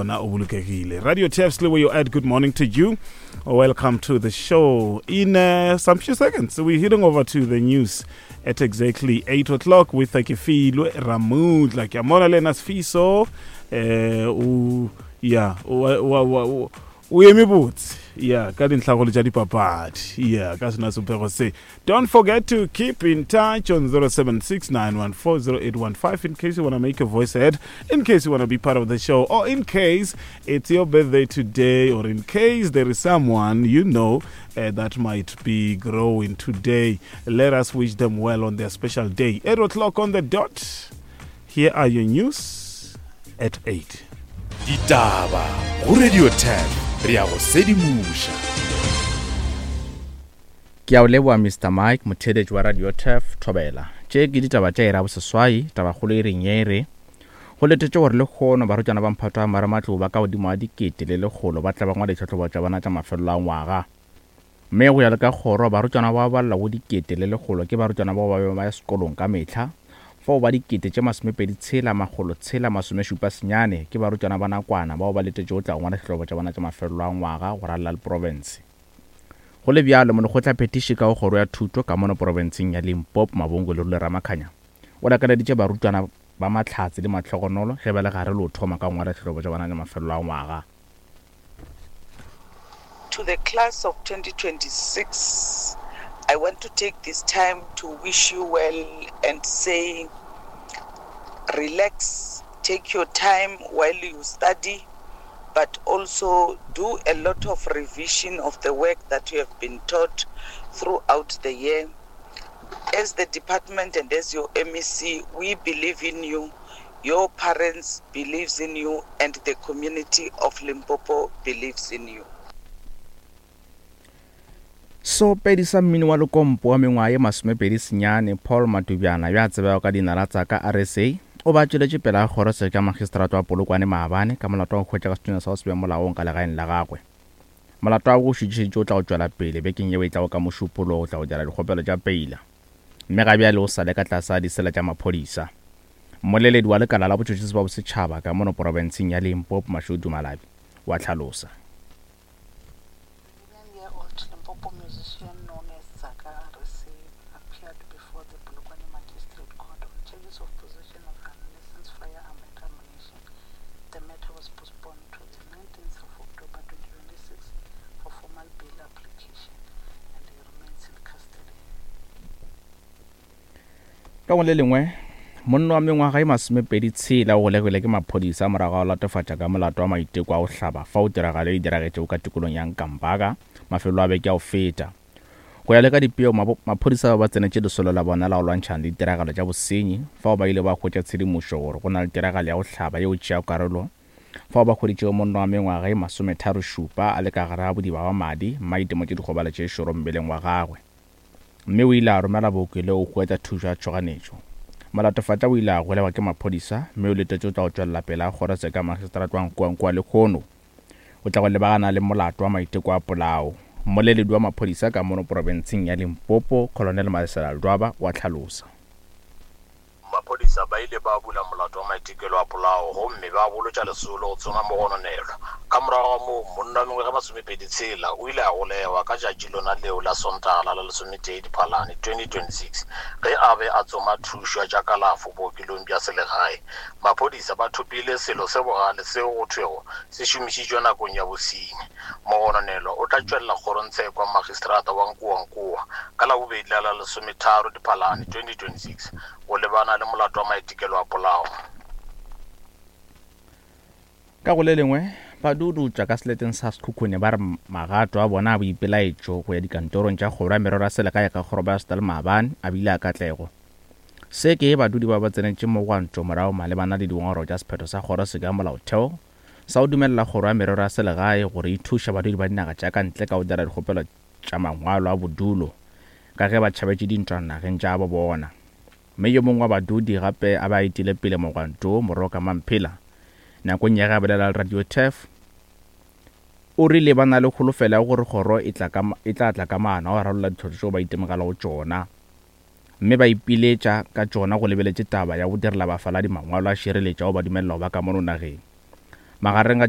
Ona o bolokegile. Radio Tefs where you at. Good morning to you. Welcome to the show. In some few seconds, we're heading over to the news at exactly 8 o'clock with Kefilwe Ramudla. Ke a mona le ena Sfiso. Eh, o yeah, o o eme botse yeah ka dintlhagolo tša dipapadi yeah ka sona sopego se. Don't forget to keep in touch on 0769140815 in case you want to make your voice heard, in case you want to be part of the show, or in case it's your birthday today, or in case there is someone you know that might be growing today. Let us wish them well on their special day. 8 o'clock on the dot. Here are your news at 8. Ditaba go Radio 10 re a go sedimoša. Ke a o leboa Mister Mike, motheeletši wa Radio Turf, Thobela. Tše ke ditaba tša iri ya boseswai, tabakgolo iring ye e re, Go letetšwe gore lehono barutwana ba mphato wa marematlou ba ka godimo ga 1100 ba tla ba ngwala ditlhahlobo tša bona tša mafelelo a ngwaga. Mme go ya le ka kgoro, barutwana ba ba balelwago 1100 ke barutwana bao ba bego ba ya sekolong ka mehla, fao ba 26 679 ke barutwana ba nakwana bao ba letetšego go tla go ngwala ditlhahlobo tša bona tša mafelelo a ngwaga go ralala le profense. Go le bjalo, molekgotlaphethiši ka go Kgoro ya Thuto ka mono porofenseng ya Limpopo, Mabongo Lerule Ramakhanya, o lakaleditše barutwana ba mahlatse le mahlogonolo ge ba le gare le go thoma ka go ngwala ditlhahlobo tša bona tša mafelelo a ngwaga. To the class of 2026, I want to take this time to wish you well and say relax, take your time while you study, but also do a lot of revision of the work that you have been taught throughout the year. As the department and as your MEC, we believe in you. Your parents believes in you and the community of Limpopo believes in you. Seopedi sa mmino wa lekompo wa mengwaga ye 29 Paul Matubjana yo a tsebegago ka leina la Tsaka RSA o be a tšweletše pele ga kgorotsheko ya magistrata wa Polokwane maabane ka molato wa go hwetša ka sethunya sa go se be molaong ka legaeng la gagwe. Molato wa gagwe o šuthišeditšwe o tla go tšwela pele bekeng yeo e tlago ka Mošupologo go tla go dira dikgopelo tša peila mme ga bjale o sa le ka tlase ga disela tša maphodisa. Mmoleledi wa lekala la botšhotšhisi ba bosetšhaba ka mono porofenseng ya Limpopo Mashudu Malabi o a hlalosa. Year-old Limpopo musician known as Tsaka RSA appeared before the Polokwane Magistrate Court on charges of possession of unlicensed firearm and ammunition. The matter was postponed to the 19th of October 2026 for formal bail application and he remains in custody. Ka go le lengwe, monna wa mengwaga e masomepedi tshela o golegilwe ke maphodisa morago ga go latofatša ka molato wa maiteko a go hlaba fao tiragalo e diragetšego ka tikolong ya Nkampaka mafelo a beke a go feta. Go ya le ka dipego, maphodisa ba ba tsenetše lesolo la bona la go lwantšhana le ditiragalo tša bosenyi fao ba ile ba hwetša tshedimošo gore go na le tiragalo ya go hlaba yeo tšeago karolo fao ba hweditšego monna wa mengwaga e masometharošupa a le ka gare ga bodiba bja madi mme a itemotše dikgobalo tše šoro mmeleng wa gagwe. Mme o ile a romela bookelong go hwetša thušo ya tšhoganetšo. Molatofatša o ile a golegwa ke maphodisa mme o letetše go tla go tšwelela pele ga kgorotsheko ya magistrata wa Nkoankoa lehono. O tla go lebagana le molato wa maiteko a polao. Mmoleledi wa maphodisa ka mono porofenseng ya Limpopo, Colonel Malesela Ledwaba o a hlalosa. Maphodisa ba ile ba bula molato wa maitekelo a polao gomme ba bolotša lesolo go tsoma mogononelwa. Ka morago ga moo, monna wa mengwaga e masomepedi tshela o ile a golegwa ka tšatši lona leo la Sontaga la la lesometee Diphalane 2026 ge a be a tsoma thušo ya tša kalafo bookelong bja selegae. Maphodisa ba thopile selo se bogale seo go thwego se šomišitšwe nakong ya bosenyi. Mogononelwa o tla tšwelela kgorongtsheko ya magistrata wa Nkowankowa ka Labobedi la la lesometharo Diphalane 2026 go lebana le molato wa maitekelo a polao. Ka go le lengwe, badudi tšwa ka seleteng sa Sekhukhune ba re magato a bona a boipelaetšo go ya dikantorong tša kgoro ya merero ya selegae ka Kgorobaestal maabane a bile a katlego. Se ke badudi ba ba tsenetše mogwanto morago malebana le dingongorego tša sephetho sa kgoroseko ya molaotheo sa go dumelela Kgoro ya Merero ya Selegae gore e thuše badudi ba dinaga tša ka ntle ka go dira dikgopelo tša mangwalo a bodulo ka ge ba tšhabetše dintwa nageng tša gabo bona. Mme yo mongwe wa badudi gape a be a etile pele mogwanto wo, Moroka Mamphela, nakong ya ge a bolela le Radio Turf, o rile ba na le kholofelo ya gore kgoro e tla ka e tla tla ka maano a go rarolla ditlhohlo tšeo ba itemogelago tšona. Mme ba ipiletša ka tšona go lebeletše taba ya go direla bafaladi mangwalo a šireletšo ao ba dumelelago ba ka mono nageng. Magareng ga tše.